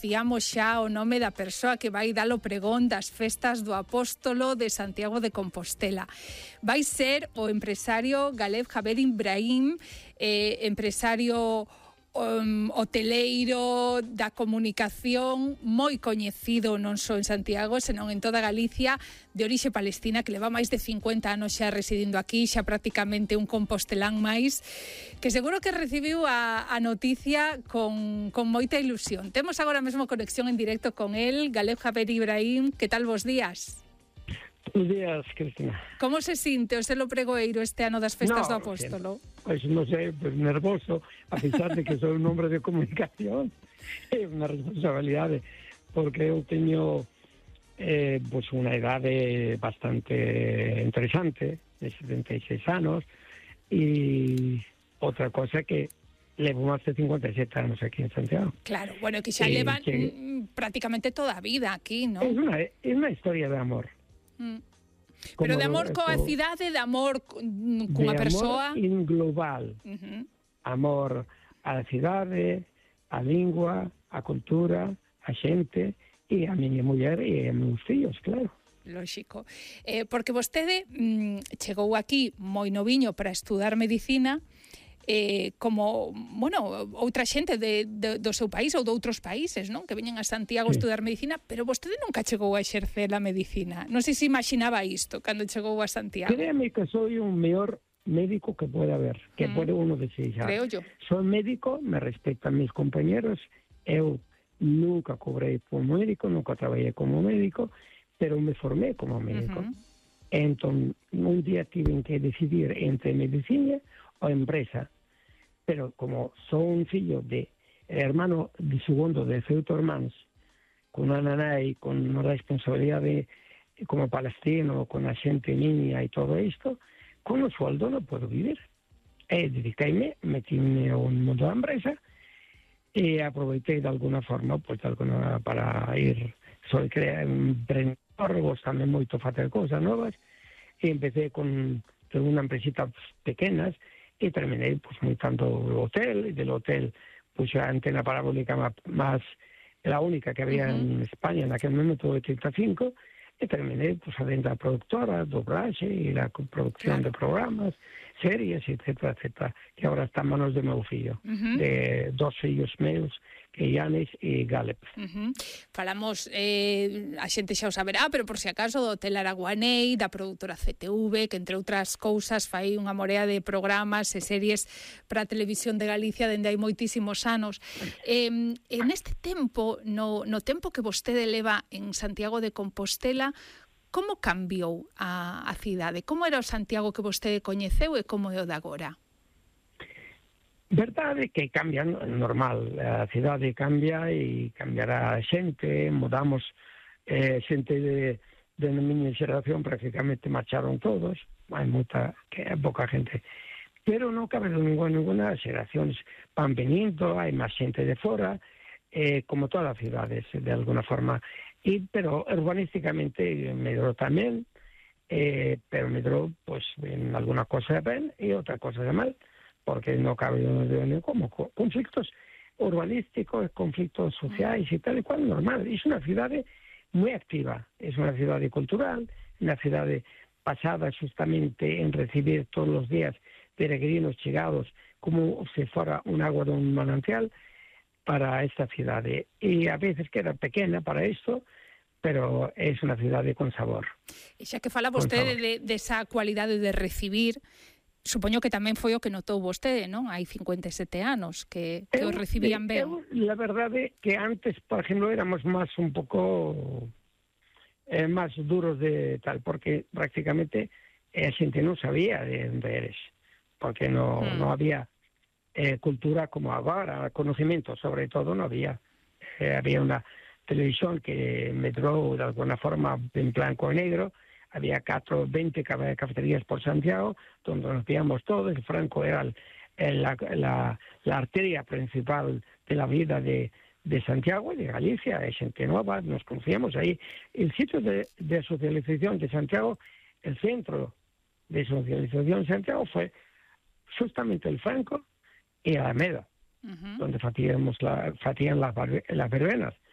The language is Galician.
dicíamos xa o nome da persoa que vai dar o pregón das festas do Apóstolo de Santiago de Compostela. Vai ser o empresario Galeb Javed Ibrahim, empresario hoteleiro da comunicación, moi coñecido non só en Santiago, senón en toda Galicia, de orixe palestina, que leva máis de 50 anos xa residindo aquí, xa prácticamente un compostelán máis, que seguro que recibiu a noticia con moita ilusión. Temos agora mesmo conexión en directo con el. Galeb Javed Ibrahim, que tal, vos días? Buenos días, Cristina. Como se sinte o selo pregoeiro este ano das festas do Apóstolo? Pois non sei, pues nervoso, a pesar de que sou un hombre de comunicación, é unha responsabilidade, porque eu teño pues unha idade bastante interesante, de 76 anos, e outra cosa que levo máis de 57 anos aquí en Santiago. Claro, bueno, que xa levan prácticamente toda a vida aquí, ¿no? É unha historia de amor. Pero de amor coa cidade, de amor cunha persoa? De amor global. Amor á cidade, á lingua, á cultura, á xente, e a miña muller e a meus fillos, claro. Lóxico. Porque vostede chegou aquí moi noviño para estudar medicina, como, bueno, outra xente do seu país ou de outros países, non? Que veñen a Santiago a estudar medicina, pero vostede nunca chegou a exercer a medicina. Non sei se imaginaba isto cando chegou a Santiago. Créame que soy un mellor médico que puede haber, que puede uno desejar. Creo yo. Soy médico, me respetan mis compañeros, eu nunca cobrei como médico, nunca traballei como médico, pero me formé como médico. Entón, un día tiven que decidir entre medicina ou empresa, pero como son un fillo de hermano de segundo de 8 irmáns, con unha nanai, con unha responsabilidade como palestino, con a xente niña e todo isto, con o sueldo non podo vivir. E dedicaime, metime ao mundo da empresa e aproveitei de alguna forma pues, para ir, soy emprendedor, gostame moito facer cousas novas, e empecé con unha empresita pequenas, e terminei pues, montando o hotel, e del hotel puse a antena parabólica más la única que había en España en aquel momento, 85, e terminei pues, a venda productora, doblaxe e la producción de programas, series, etcétera, etcétera, que ahora está en manos de meu fillo, de 2 fillos meus, que Yanis e Galeb. Falamos, a xente xa o saberá, pero por si acaso do Hotel Araguanei, da produtora CTV, que entre outras cousas fai unha morea de programas e series para a televisión de Galicia dende hai moitísimos anos. En este tempo, no tempo que vostede leva en Santiago de Compostela, como cambiou a cidade? Como era o Santiago que vostede coñeceu e como é o de agora? Verdade que cambia, normal, a cidade cambia e cambiará a xente, mudamos, xente de miña xeración prácticamente marcharon todos, hai pouca gente, pero non cabe ninguna xeracións van venindo, hai máis xente de fora, como todas as cidades, de alguna forma, pero urbanísticamente medrou tamén, pero medrou, pues, en alguna cosa de ben e outra cosa de mal, porque no cabe como conflictos urbanísticos, conflictos sociais e tal e cual, normal. É unha cidade moi activa, é unha cidade cultural, unha cidade basada justamente en recibir todos os días peregrinos chegados como se fora un agua de un manantial para esta cidade. E a veces queda pequena para isto, pero é unha cidade con sabor. E xa que fala vostede de esa cualidade de recibir, supoño que tamén foi o que notou vostede, non? Hai 57 anos que os recibían ben. La verdade que antes, por exemplo, éramos máis un pouco máis duros de tal, porque prácticamente a xente non sabía de onde eres, porque non había cultura como agora, conocimiento sobre todo non había. Había unha televisión que medrou de alguna forma en blanco e negro, había 20 cafeterías por Santiago, donde nos veíamos todos. Franco era la arteria principal de la vida de Santiago y de Galicia, de xente nova, nos conocíamos ahí. El sitio de socialización de Santiago, el centro de socialización de Santiago fue justamente el Franco y Alameda, donde facían las verbenas.